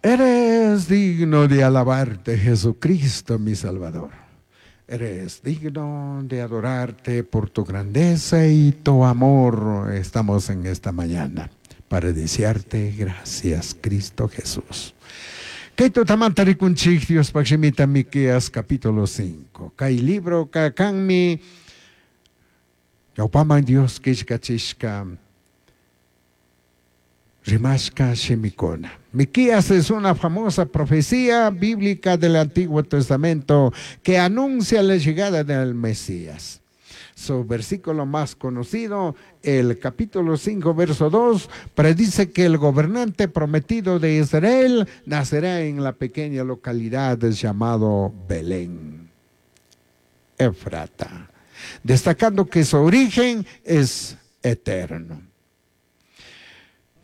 Eres digno de alabarte, Jesucristo, mi Salvador. Eres digno de adorarte por tu grandeza y tu amor. Estamos en esta mañana para desearte gracias, Cristo Jesús. Kay tutamanta rikunchik Diospaj shimita Miqueas capítulo 5. Kay libroka kanmi ñawpaman Dios killkachishka rimashka shimikuna. Miqueas es una famosa profecía bíblica del Antiguo Testamento que anuncia la llegada del Mesías. Su versículo más conocido, el capítulo 5, verso 2, predice que el gobernante prometido de Israel nacerá en la pequeña localidad llamado Belén, Efrata, destacando que su origen es eterno.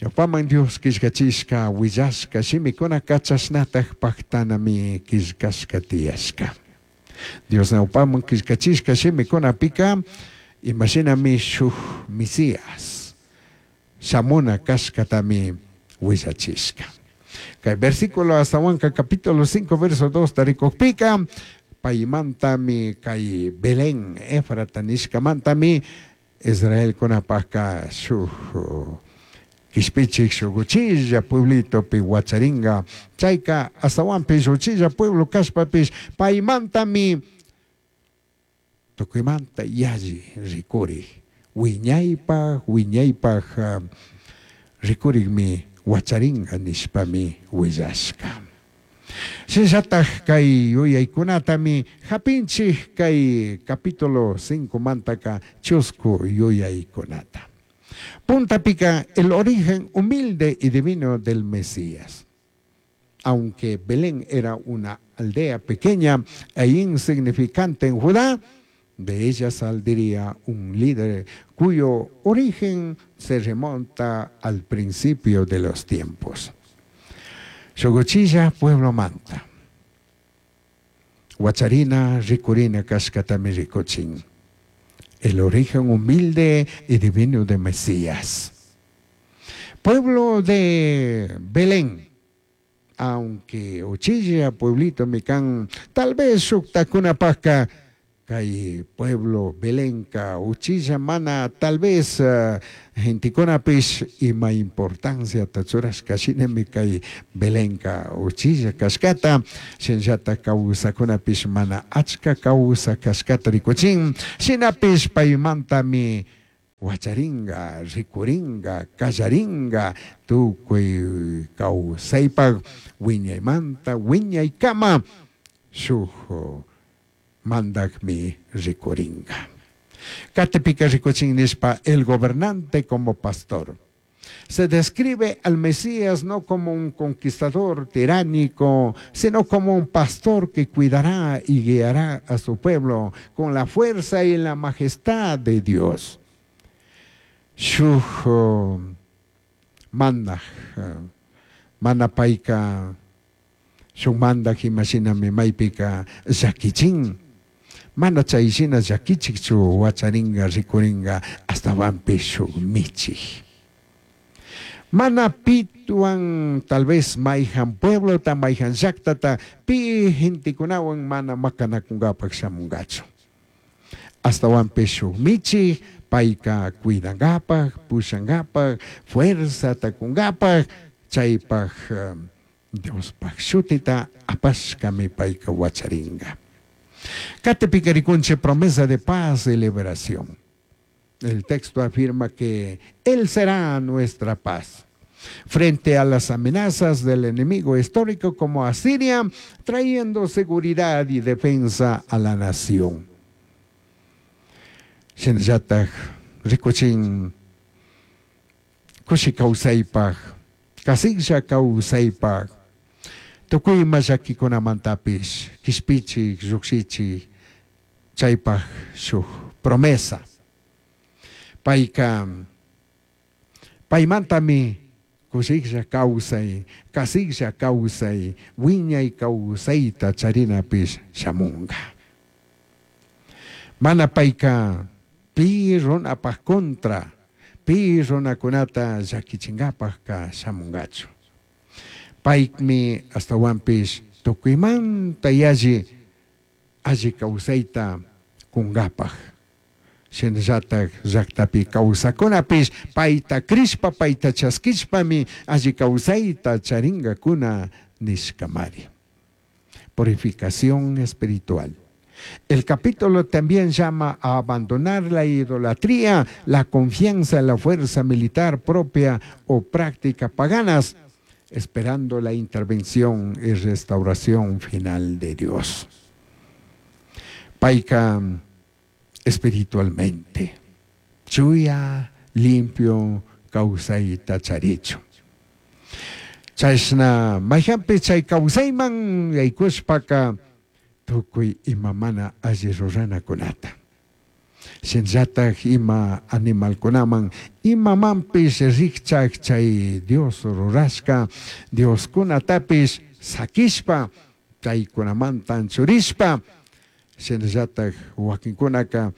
Ñawpaman Dios killkachishka willashka shimikunaka chashnataj pajtanami killkashka tiyashka. Dios ñawpaman killkachishka shimikunapika imashinami shuj Mesías shamuna kashkatami willachishka. Kay versículo astawanka capítulo 5 verso 2 tarikukpika paymantami kay Belén Efrata nishkamantami Israelkunapajka shuj kishpichik shuk uchilla pueblitopi wacharinga chayka astawanpish uchilla pueblo kashpapish paymantami tukuymanta yalli rikurik wiñaypaj wiñaypaj rikurikmi wacharinga nishpami willashka. Shinallataj kay yuyaykunatami hapinchik kay capítulo 5 mantaka chusku yuyaykunata. Puntapika el origen humilde y divino del Mesías. Aunque Belén era una aldea pequeña e insignificante en Judá, de ella saldría un líder cuyo origen se remonta al principio de los tiempos. Shuk uchilla pueblo manta. Huacharina, rikurina kashkatami rikuchin. El origen humilde y divino de Mesías. Pueblo de Belén, aunque uchilla pueblito mi kan, tal vez shuktakunapajka kay pueblo Belenka uchilla mana tal vez gentekunapish ima importancia churashka shinami kay Belenka uchilla kashkata shinallatak kawsakunapish mana achka kawsak kashkata rikuchin shinapish paymantami wacharinga rikuringa kallaringa tukuy kawsaypak wiñaymanta wiñaykama shuk mandakmi rikuringa. Katipika rikuchin nishpa el gobernante como pastor. Se describe al Mesías no como un conquistador tiránico, sino como un pastor que cuidará y guiará a su pueblo con la fuerza y la majestad de Dios. Shuj mandaj, mana payka, shuk mandaj imashinami maypika llakichin. Mana chay shina llakichikchu wacharinga rikuringa astawanpish shuk michik. Mana pituan tal vez mayhan pueblota mayhan llaktata pi gentekunawan mana makanakungapak shamungachu. Astawanpish shuk michik payka cuidangapak, pushangapak, fuerzata kungapak, chaypak Diospaj shutita apashkami payka wacharinga. Katipika rikunchik promesa de paz y liberación. El texto afirma que Él será nuestra paz. Frente a las amenazas del enemigo histórico como Asiria, trayendo seguridad y defensa a la nación. Shinallataj rikuchin kushi kawsaypaj, kasiklla kawsaypaj, tukuy ima llakikunamantapis kishpichik, llukshichik, chaypaj shuk promesa. Payka paymantami kushiklla kawsay, kasiklla kawsay, wiñay kawsayta charinapish shamunga. Mana payka pi runapaj contra, pi runakunata llakichinkapajka shamungachu. Paymi ashtahuanpish tucuimanta yalli alli causaita cungapaj. Shinallataj llajtapi causacunapish paita crishpa, paita chasquishpami alli causaita charingacuna nishcamari. Purificación espiritual. El capítulo también llama a abandonar la idolatría, la confianza en la fuerza militar propia o práctica paganas, esperando la intervención y restauración final de Dios. Paica espiritualmente, chuya, limpio, causaita charichu. Chashna maijanpi chay causaiman yaykushpaka tukuy ima mana alli ruranakunata. Shinallataj ima animalkunaman imamanpish rijchaj chay Dios rurashka Dioskunatapish saquishpa chaykunamanta anchurishpa shinallataj wakinkunaka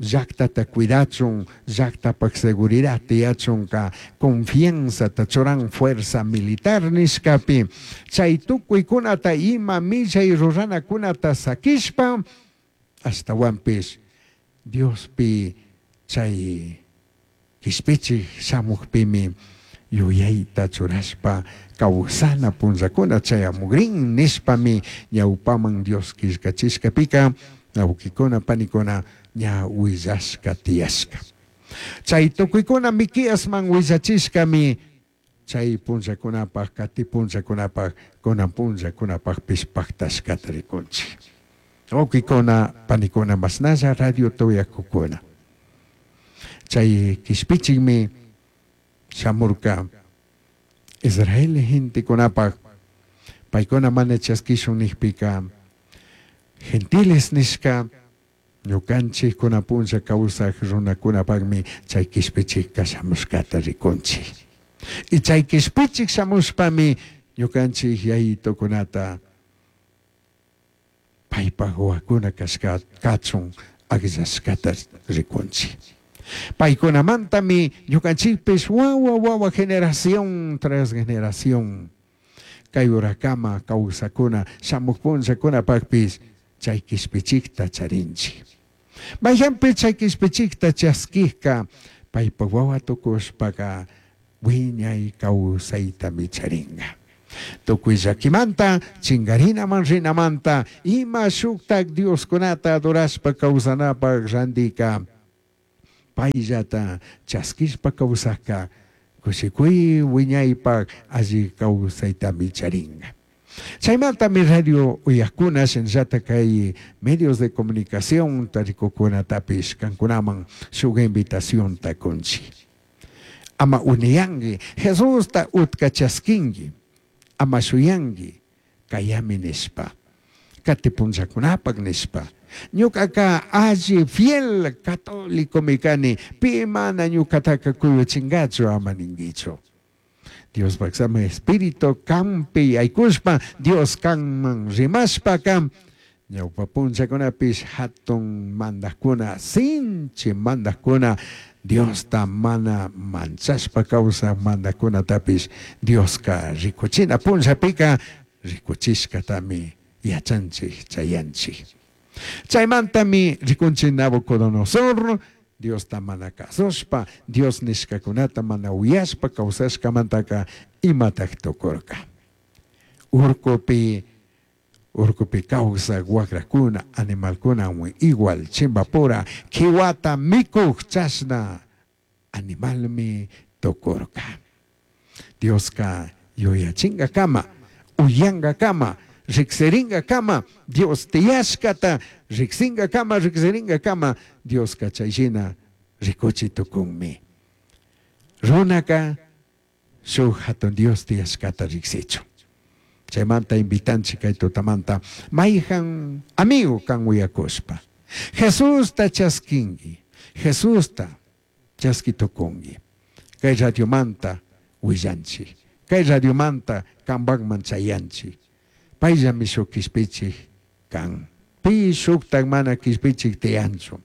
llajtata cuidachun, llajtapaj seguridad tiyachunka confianzata churan fuerza militar nishkapi chay tukuykunata ima millay ruranakunata saquishpa ashtahuanpish Diospi chay quishpichij shamujpimi yuyayta churashpa kawsana punllakuna chayamugrin nishpami ñawpaman Dios killkachishkapika wawkikuna panikuna ña willashka tiyashka. Chay tukuykuna Miqueasman willachishkami chay punllakunapaj, kati punllakunapaj, kunan punllakunapajpish pajtashkata rikunchik. Wawkikuna panikuna mashnalla radio tuyakukuna. Chay kishpichikmi shamurka Israel gentekunapaj paykuna mana chaskishun nijpika gentiles nishka ñukanchik kunan punlla kawsaj runakunapakmi chay kishpichikka shamushkata rikunchik. Y chay kishpichik shamushpami ñukanchik yayitukunata paypaj wawakuna kashka kachun akllashkata rikunchik. Paykunamantami ñukanchikpish wawa wawa generación tras generación kay urakama kawsakuna shamuj punllakunapakpish chay kishpichikta charinchik. Mayhanpi chay kishpichikta chaskijka paypak wawa tukushpaka wiñay kawsaytami charinga. Tukuy llakimanta, chingarinaman rinamanta, ima shuktak Dioskunata adorashpa kawsanapak randika payllata chaskishpa kawsajka kushikuy wiñaypak alli kawsaytami charinga. Chaymantami radio uyakuna shinallata kay medios de comunicación tarikukunatapish kankunaman shuk invitacionta kunchik. Ama uniyanki, Jesusta utka chaskinki, ama shuyanki, kayami nishpa, kati punllakunapak nishpa. Ñukaka alli fiel católicomi kani, pi mana ñukataka kuyuchingachu ama ninkichu. Diospak sama espíritu kanpi yaykushpa, Dios kanman rimashpaka, ñawpa punllakunapish hatun mandajkuna, sinchi mandajkuna, Diosta mana manchashpa kawsaj mandajkunatapish Dioska rikuchina punllapika rikuchishkatami yachanchik chayanchik. Chaymantami rikunchik Nabucodonosor Diosta mana kasushpa, Dios nishkakunata mana uyashpa kawsashkamantaka imatak tukurka. Urkupi urkupi kawsaj wagrakuna, animalkunawan igual chimbapura kiwata mikuj chashna animalmi tukurka. Dioska yuyachingakama, uyankakama, riksiringakama, Dios tiyashkata riksingakama, riksiringakama, Dioska chayshina rikuchi tukunmi. Runaka shuk hatun Dios tiyashkata riksichun. Chaymanta invitanchik kay tutamanta mayhan amigo kan uyakushpa. Jesusta chaskinki, Jesusta chaski tukunki. Kay radiomanta willanchik, kay radiomanta kanpakman chayanchik. Payllami shuk kishpichik kan. Pi shuktak mana kishpichik tiyanchu.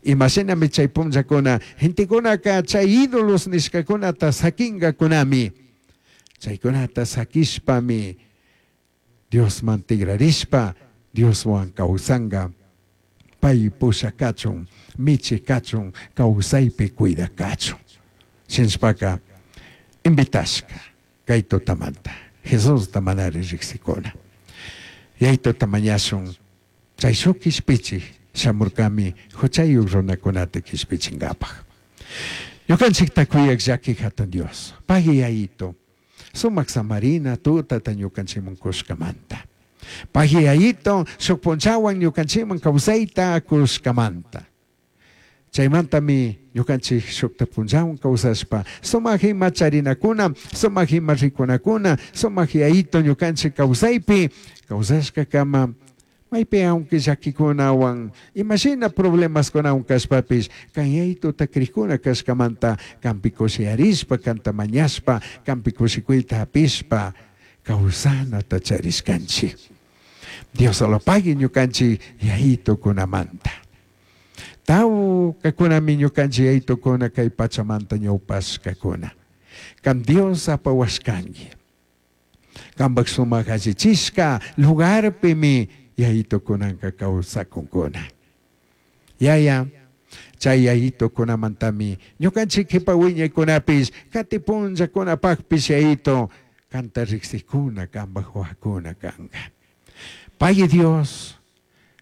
Imashinami chay punllakuna gentekunaka chay ídolos nishkakunata sakinkakunami. Chaicunata saquishpami Diosman tigrarishpa Dioshuan causanga. Pai pushacachun, michicachun, causaipi cuidacachun. Shinashpaca invitashca cai tutamanta Jesusta manari rijsicuna. Yaitota mañashun chay shuk quishpichij shamurcami juchayuj runacunata quishpichingapaj. Ñucanchijta cuyaj llaqui jatun Dios, pagui Yaito, sumac samarina tutata ñucanchikman cushcamanta. Pagui Yaito, shuk punllahuan ñucanchikman causaita cushcamanta. Chaimantami ñucanchij shukta punllahuan causashpa, sumaj ima charinacuna, sumaj ima ricunacuna, sumaj Yaito ñucanchij causaipi causashcacama, maipi aunque llaquicunahuan, imashina problemascunahuan cashpapish, can Yaitota crijcuna cashcamanta canpi cushiyarishpa, canta mañashpa, canpi cushicuita japishpa, causanata charishcanchij. Dios solo pagui ñucanchij Yaitocunamanta. Taucacunami ñucanchij Yaitocuna cai pachamanta ñaupashcacuna. Can Dios apahuashcangui. Cambaj sumaj allichishca lugarpimi Yaitocunanca causacuncuna. Yaya, chay Yaitocunamantami ñucanchij quipa huiñaicunapish, cati punllacunapajpish Yaito, canta rijsijcuna, cambaj huahuacuna canga. Pagui Dios,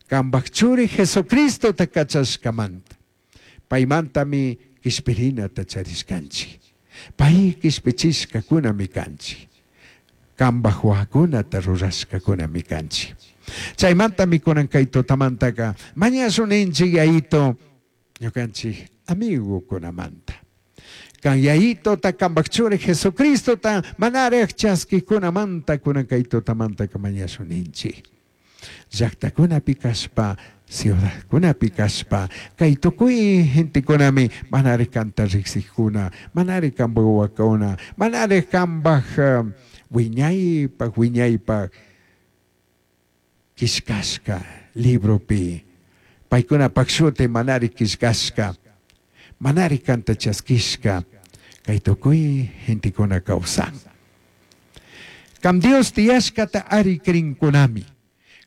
cambaj Churi Jesucristota cachashcamanta, paimantami quishpirinata charishcanchij. Pai quishpichishcacunami canchij. Cambaj huahuacunata rurashcacunami canchij. Chaimantami cunan cai tutamantaca mañashun ninchij Yaito ñucanchij amigocunamanta. Can Yaitota, cambaj Churi Jesucristota manaraj chasquijcunamanta cunan cai tutamantaca mañashun ninchij. Llajtacunapi cashpa, ciudadcunapi cashpa, cai tucui gentecunami manaraj canta rijsijcuna, manaraj cambaj huahuacuna, manaraj cambaj huiñaipaj huiñaipaj quillcashca libropi, paicunapaj shuti manaraj quillcashca, manaraj canta chasquishca, cai tucui gentecuna causan. Can Dios tiyashcata ari crincunami.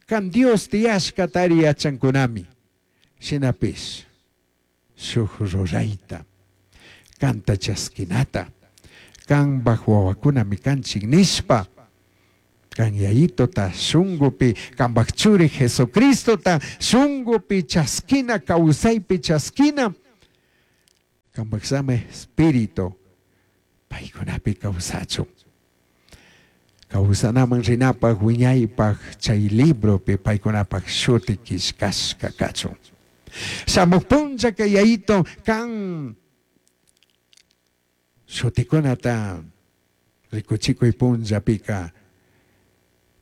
Can Dios tiyashcata ari yachancunami. Shinapish shuj ruraita, canta chasquinata, cambaj huahuacunami canchij nishpa, can Yaitota shungupi, cambaj Churi Jesucristota shungupi chasquina, causaipi chasquina, cambaj Sama Espíritu paicunapi causachun. Causanaman rinapaj, huiñaipaj, chay libropi paicunapaj shuti quillcashca cachun. Shamuj punllaca Yaito can shuticunata ricuchicui punllapica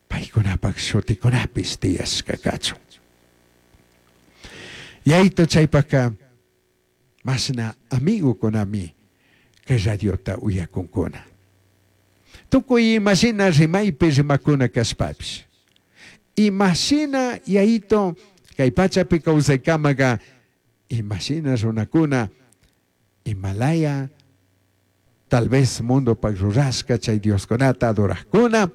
paicunapaj shuticunapish tiyashca cachun. Yaito chaypajca mashna amigocunami cay radiota uyacuncuna. Tucui imashina rimaipi rimacuna cashpapish, imashina Yaito cay pachapi causaicamaca imashina runacuna imalaya tal vez mundopaj rurashca chay dioscunata adorajcuna,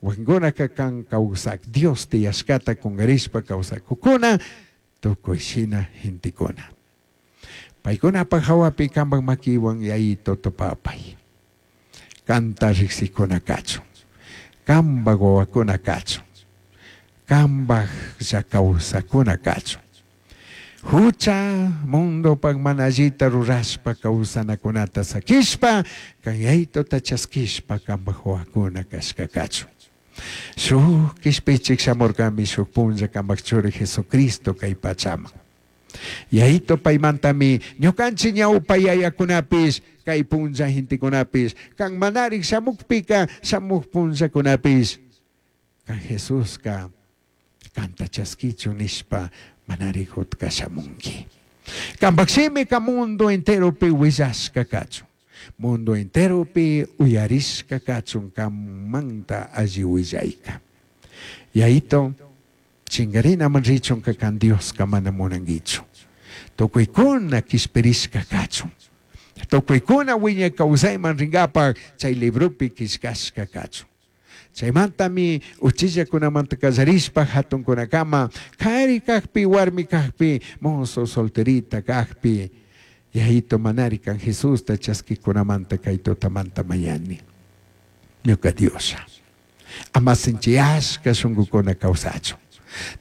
huaquincunaca can causaj Dios tiyashcata cungarishpa causacucuna, tucui shina gentecuna. Paicunapaj jahuapi cambaj maquihuan Yaito tupapai. Canta rijsijcuna cachun, cambaj huahuacuna cachun, cambajlla causacuna cachun. Jucha mundopaj mana allita rurashpa causanacunata saquishpa, can Yaitota chasquishpa cambaj huahuacuna cashca cachun. Shuj quishpichij shamurcami shuj punlla cambaj Churi Jesucristo cai pachaman. Yaito paimantami ñucanchij ñaupa yayacunapish, cai punlla gentecunapish, can manarij shamujpica shamuj punllacunapish, can Jesusca canta chasquichun nishpa manarij utca shamunqui. Cambaj shimica mundo enteropi huillashca cachun. Mundo enteropi uyarishca cachun canmanta alli huillaica. Yaito, chingarinaman richunca can Diosca mana munanguichu. Tucuicuna quishpirishca cachun. Tucuicuna wiñay kawsayman rinkapak chay libropi killkashka kachun. Chaymantami uchillakunamanta kallarishpa hatunkunakama kari kakpi warmi kakpi mozo solterita kakpi Yayito manari kan Jesusta chaskikunamanta kay tutamanta mañani. Ñuka Dioslla. Ama sinchiyashka shunkukuna kawsachun.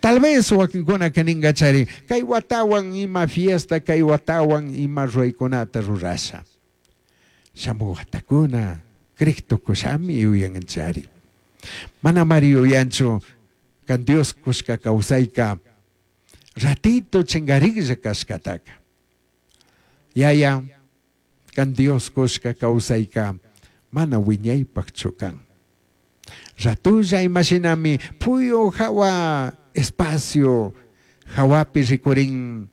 Tal vez wakinkunaka ninkachari kay watawan ima fiesta kay watawan ima ruraykunata rurasha. Shamuj watakuna crej tukushami yuyanchari. Manamari yuyanchu kan Dios kushka kawsayka ratito chingariklla kashkataka. Yaya, kan Dios kushka kawsayka mana wiñaypaqchu kan. Ratulla imashinami puyu hawa espacio hawapi rikurin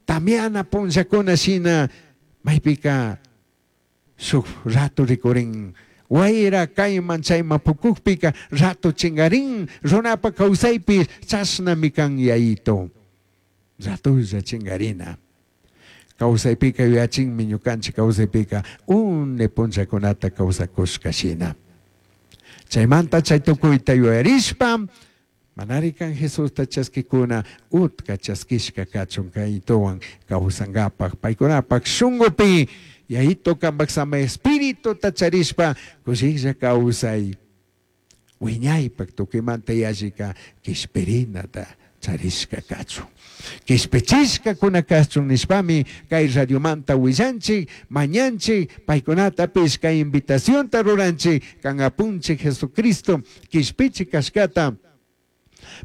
tamiana punllakuna shina maypika shuk rato rikurin wayra kayman chayman pukukpika rato chingarin runapa kawsaypi chashnami kan Yayito. Ratulla chingarina. Kawsaypika yuyachinmi ñukanchik kawsaypika une punllakunata kawsakushka shina. Chaymanta chay tukuyta yuyarishpa manari kan Jesusta chaskikuna utka chaskishka kachun kaytuwan kawsankapak paykunapak shunkupi Yayito kanpak samay espirituta charishpa kushiklla kawsay wiñaypak tukuymanta yallika kishpirinata charishka kachun. Kishpichishkakuna kachun nishpami kay radiomanta willanchik, mañanchik, paykunatapish kay invitacionta ruranchik kan apunchik Jesucristo kishpichik kashkata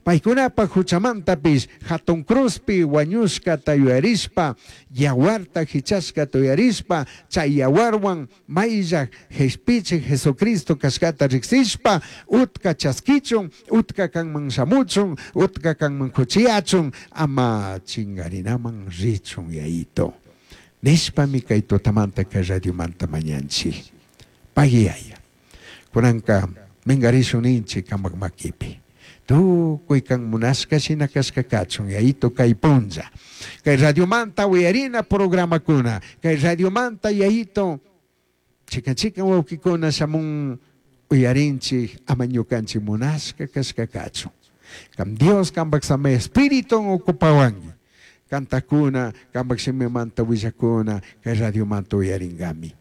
paykunapak huchamantapish hatun cruzpi wañushkata yuyarishpa yawarta hichashkata yuyarishpa chay yawarwan mayllak kishpichik Jesucristo kashkata riksishpa utka chaskichun utka kanman shamuchun utka kanman kuchiyachun ama chingarinaman richun Yayito. Nishpami kay tutamanta kay radiomanta mañanchik. Pagui Yaya. Kunanka mingarishun ninchik kamak makipi. Tukuy kan munashka shina kashka kachun Yayito kay punlla. Kay radiomanta uyarina programakuna. Kay radiomanta Yayito chikan chikan wawkikuna shamun uyarinchik ama ñukanchik munashka kashka kachun. Kam Dios kanpak samay Espíritu ocupawanki. Kantakuna, kanpak shimimanta willakuna, kay radiomanta uyarinkami.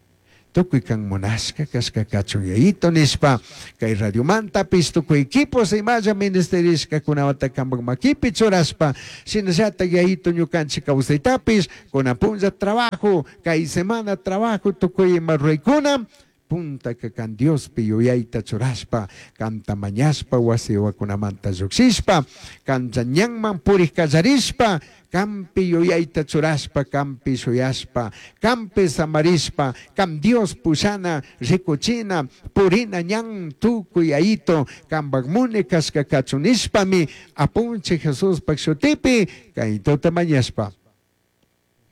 Tukuy kan munashka kashka kachun Yayito nishpa kay radiomantapis tukuy equipos imalla ministerishkakunawata kanpak makipi churashpa shinallatak Yayito ñukanchik kawsaytapis kunan punlla trabajo kay semana trabajo tukuy ima ruraykuna puntaka kan Diospi yuyayta churashpa kanta mañashpa wasi wawakunamanta llukshishpa kancha ñanman purik kallarishpa kampi yuyayta churashpa kampi shuyashpa kampi samarishpa kam Dios pushana rikuchina purina ñan tukuy Yayito kampak muni kashka kachun nishpami apunchik Jesuspak shutipi kay tuta mañashpa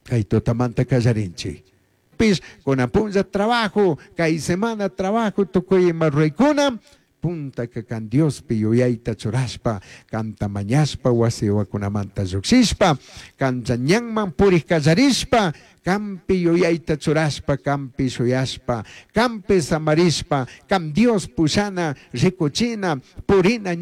kay tutamanta kallarinchik. Pis kunan punlla trabajo kay semana trabajo tukuy ima ruraykuna puntaka kan Diospi yuyayta churashpa kanta mañashpa wasi wawakunamanta llukshishpa kancha ñanman purik kallarishpa kampi yuyayta churashpa kampi shuyashpa kampi samarishpa kam Dios pushana rikuchina purina.